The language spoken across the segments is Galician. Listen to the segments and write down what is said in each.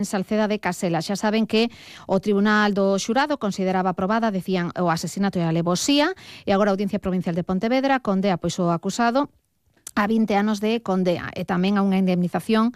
en Salceda de Casela. Xa saben que o Tribunal do Xurado consideraba aprobada, decían, o asesinato e a alevosía, e agora a Audiencia Provincial de Pontevedra condea pois o acusado a 20 anos de condea e tamén a unha indemnización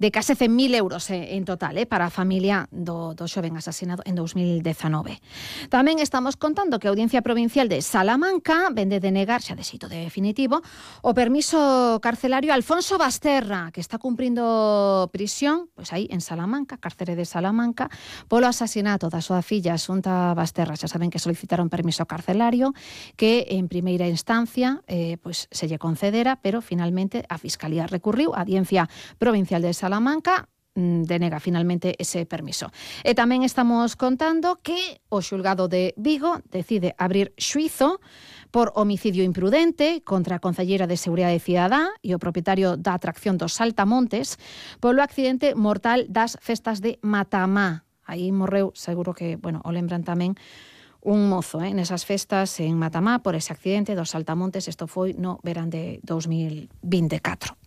de case 100.000 euros en total para a familia do xoven asesinado en 2019. Tamén estamos contando que a Audiencia Provincial de Salamanca vende denegar, xa de xeito definitivo, o permiso carcelario a Alfonso Basterra, que está cumprindo prisión, pois aí en Salamanca, cárcere de Salamanca, polo asasinato da súa filla Asunta Basterra. Xa saben que solicitaron permiso carcelario que en primeira instancia pois se lle concedera, pero finalmente a Fiscalía recurriu, a Audiencia Provincial de Salamanca denega finalmente ese permiso. E tamén estamos contando que o xulgado de Vigo decide abrir xuízo por homicidio imprudente contra a concelleira de Seguridade Cidadá e o propietario da atracción dos Saltamontes polo accidente mortal das festas de Matamá. Aí morreu, seguro que, o lembran tamén, un mozo nesas festas en Matamá por ese accidente dos Saltamontes. Isto foi no verán de 2024.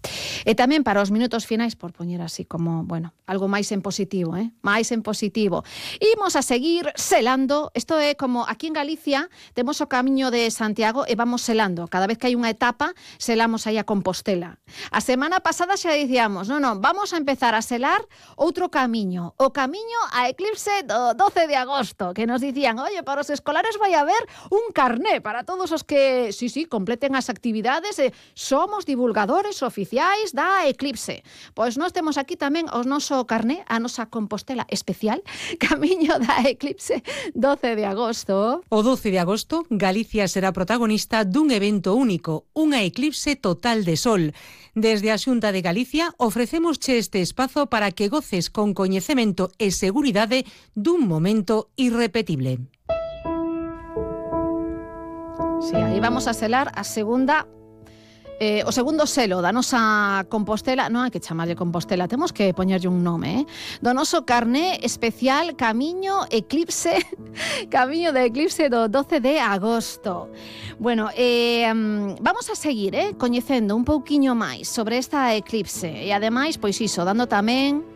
E tamén para os minutos finais, por poñer así como, algo máis en positivo, máis en positivo. Imos a seguir selando. Isto é como aquí en Galicia temos o Camiño de Santiago e vamos selando. Cada vez que hai unha etapa, selamos aí a Compostela. A semana pasada xa dicíamos, vamos a empezar a selar outro camiño. O camiño a eclipse do 12 de agosto, que nos dicían, para os escolares vai haber un carné para todos os que, completen as actividades. Somos divulgadores oficiais da eclipse. Pois nós temos aquí tamén o noso carné, a nosa Compostela especial, Camiño da Eclipse 12 de agosto. O 12 de agosto, Galicia será protagonista dun evento único, unha eclipse total de sol. Desde a Xunta de Galicia ofrecémosche este espazo para que goces con coñecemento e seguridade dun momento irrepetible. Sí, aí vamos a selar a segunda o segundo selo da nosa Compostela, non hai que chamarlle Compostela, temos que poñerlle un nome, do noso carné especial Camiño Eclipse, Camiño de Eclipse do 12 de agosto. Vamos a seguir coñecendo un pouquiño máis sobre esta eclipse e ademais, pois iso, dando tamén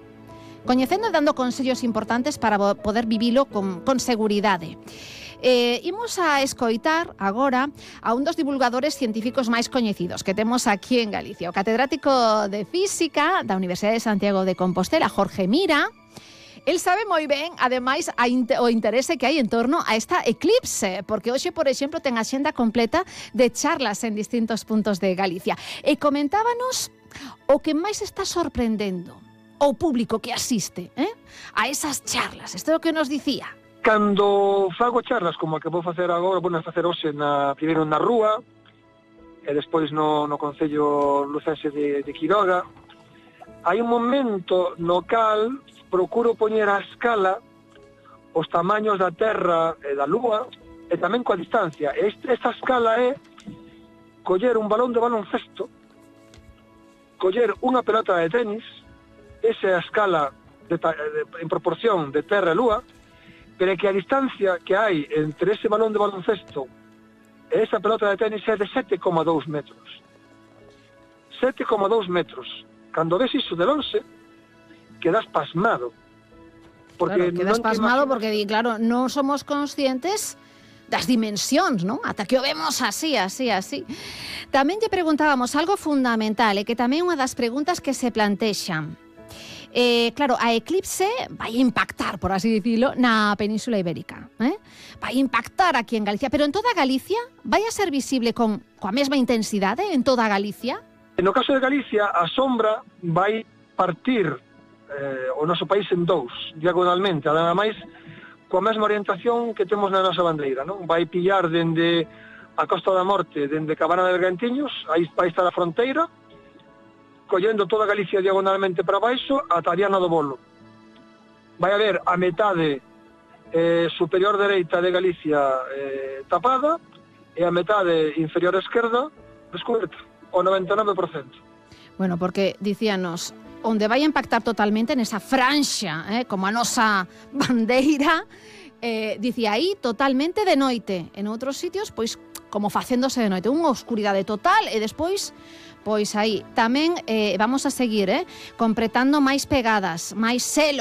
coñecendo e dando consellos importantes para poder vivilo con seguridade. Imos a escoitar agora a un dos divulgadores científicos máis coñecidos que temos aquí en Galicia, o catedrático de Física da Universidade de Santiago de Compostela, Jorge Mira. El sabe moi ben, ademais, o interese que hai en torno a esta eclipse, porque hoxe, por exemplo, ten a xenda completa de charlas en distintos puntos de Galicia. E comentábanos o que máis está sorprendendo ao público que asiste a esas charlas. Isto é o que nos dicía. Cando fago charlas como a que vou facer agora, vou facer hoxe primeiro na Rúa e despois no Concello Lucense de Quiroga, hai un momento no cal procuro poñer a escala os tamaños da Terra e da Lúa e tamén coa distancia. Esta escala é coller un balón de baloncesto, coller unha pelota de tenis, esa é a escala en proporción de Terra e Lúa, pero é que a distancia que hai entre ese balón de baloncesto e esa pelota de tenis é de 7,2 metros. 7,2 metros. Cando ves iso de lonxe, quedas pasmado. Porque quedas pasmado porque, claro, non somos conscientes das dimensións, non? Ata que o vemos así. Tamén lle preguntábamos algo fundamental e que tamén é unha das preguntas que se plantexan. Claro, a eclipse vai impactar, por así dicilo, na Península Ibérica. Vai impactar aquí en Galicia, pero en toda Galicia vai a ser visible coa mesma intensidade en toda Galicia? No caso de Galicia, a sombra vai partir o noso país en dous, diagonalmente, ademais coa mesma orientación que temos na nosa bandeira, non? Vai pillar dende a Costa da Morte, dende Cabana de Bergantiños, aí vai estar a fronteira, collendo toda Galicia diagonalmente para baixo ata a Viana do Bolo. Vai haber a metade superior dereita de Galicia tapada e a metade inferior esquerda descoberta, o 99%. Porque dicíanos, onde vai impactar totalmente nesa franxa, como a nosa bandeira, dicía aí totalmente de noite. En outros sitios, pois, como facéndose de noite, unha oscuridade total e despois pois aí tamén vamos a seguir completando máis pegadas, máis selos